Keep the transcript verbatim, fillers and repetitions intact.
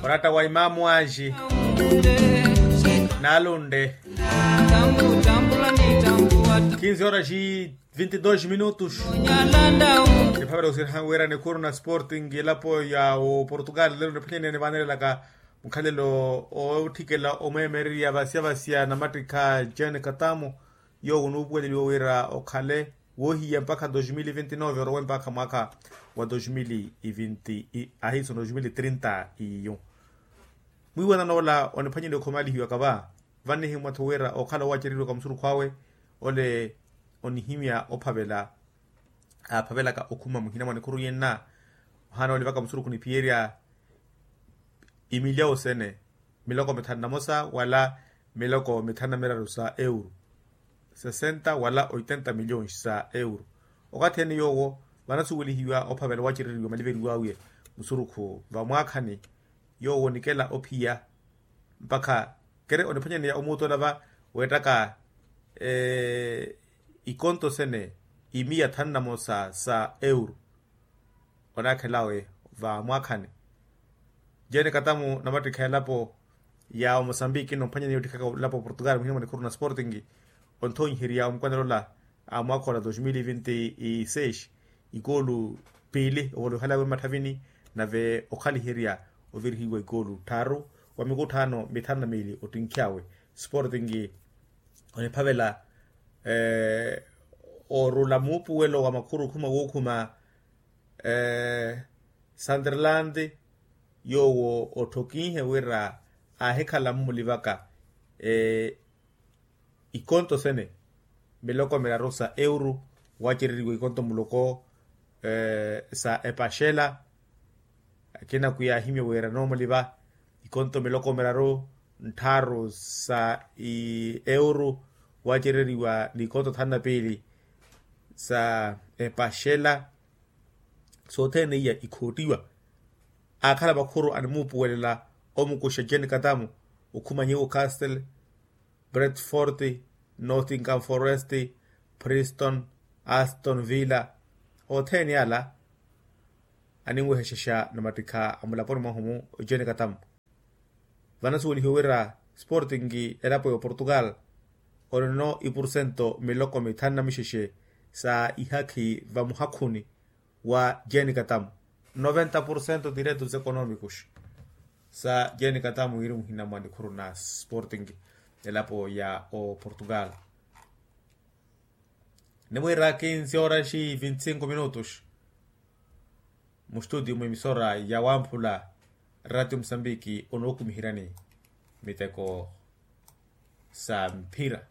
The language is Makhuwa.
Oratta wa imaamu anji naaluntte. Kinzi horas e vinti dos minutos. Niphavela osirihani wira nikhuru na sporting elapo ya oportugal lelo niphwanyaneyani vaanelelaka mukhalelo ootthikela omweemererya vasya vasya namattikha jane katamu. Yoowo onuupuweleliwa wira okhale woohiya mpakha dos mil vinti nove orowe mpakha mwaakha wa dos mil vinti ahiiso dos mil trinta. Iyo mwiiwanano ola oniphwanyeliwa okhomalihiwaka va. Vannihimwa-tho wira okhala owacereriwaka musurukhu awe ole onihimya ophavela aaphavelaka okhuma muhina mwa nikhuru yenna. Ohaana olivaka musurukhu niphiyerya imilyawo sene miloko mithanu na mosa wala miloko mithanu na miraru sa euro sesenta wala oitenta miliyons sa euro. Okathi ene yoowo vanasuwelihiwa ophavela owacereriwa maliveriwaawiye musurukhu vamwaakhani. Yoowo onikela ophiya mpakha kere oniphwanyaneya omuutola va weettaka ikonto sene imiya thanu na mosa sa euro. Onaakhel'awe vamwaakhani jene katamu namattikha elapo ya omosambiki nomphwanyaneya ottikhaka elapo portugal muhina mwa nikhuru na sporting. Onthonyiherya omukwanela ola a mwaakha ola dos mil vinti seis ikoolu piili ovolowihal'awe mmatthavini nave okhaliherya ovirihiwa ikoolu tthaaru wa mikutthano mithanu na miili ottinkhy'awe. Sporting oniphavela orula muupuwelo wa makhuru okhuma wookhuma santerlandi yoowo otthokinhe wira aahikhala mmulivaka ikonto sene miloko miraru sa euro wacereriwa ikonto muloko sa epaxela. Akina kwiyaahimya wira noomuliva ikonto miloko miraru ntthaaru sa euro wacereriwa n'ikonto thanu na piili sa epaxela. Sothene iya ikhoottiwa aakhala makhuru animuupuwelela omukuxa jane katamu okhuma newcastle bretford nottingham forest priston aston villa othene ala aninwehexexa namattikha amulaponi mwahumu jane katamu. Vanasuwelihiwe wira sporting elapo ya oportugal onino ipursento miloko mithanu na mixexe sa ihakhi vamuhakhuni wa jane katamu noventa porcento direitos economicos sa jane katamu wiri muhina mwa nikhuru na sporting elapo ya oportugal. Nimwiira kinsi oraxi vinti sinku minutos mustutio mwemisora ya wamphula ratio musambiki onookumihirani miteko sa mphira.